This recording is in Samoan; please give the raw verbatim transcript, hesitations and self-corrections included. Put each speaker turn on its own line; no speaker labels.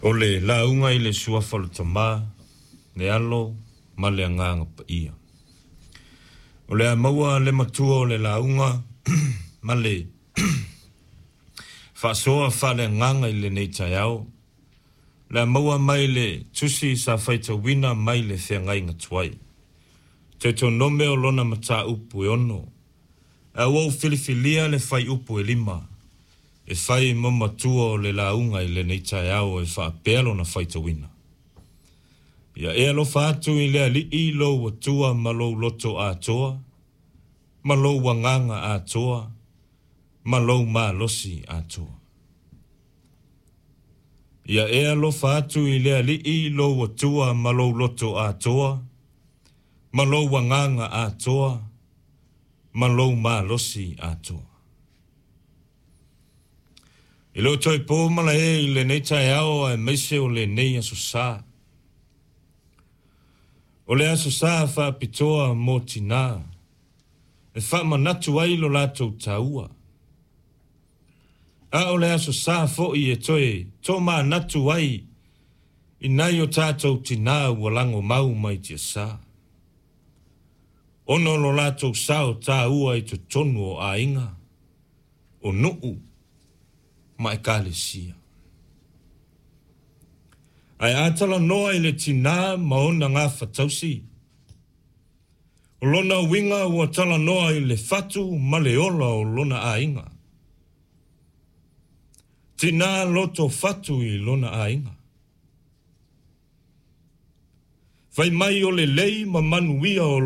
O le lauga i le suafa o le Tama, le Alo ma le Agaga Paia. O le a maua le matua o le lauga ma le faasoa faaleagaga i lenei taeao. O le a maua mai le tusi sa faitauina mai le feagaiga tuai. Teutonome o lona mataupu e ono. Ae ua ou filifilia le fuaiupu e lima e fai ma matua o le lauga i lenei taeao e faapea lona faitauina. Ia e alofa atu i le Alii lou Atua ma lou loto atoa, ma lou agaga atoa, ma lou malosi atoa. Ia e alofa atu i le Alii lou Atua ma lou loto atoa, ma lou agaga atoa, ma lou malosi atoa. E le o toe po malae i lenei taeao aemaise o lenei aso sa. O le aso sa faapitoa mo tinā, e faamanatu ai lo latou taua. A o le aso sa foi e toe tomanatu ai i nai o tatou tinā ua lagomau mai tiasa. Ona o lo latou sao taua i totonu o aiga, o nuu ma ekalesia. Ae a talanoa i le tinā ma ona gafatausi, o lona uiga ua talanoa i le fatu ma le ola o lona aiga. Tinā loto fatu i lona aiga. Fai mai o le lei ma manuia o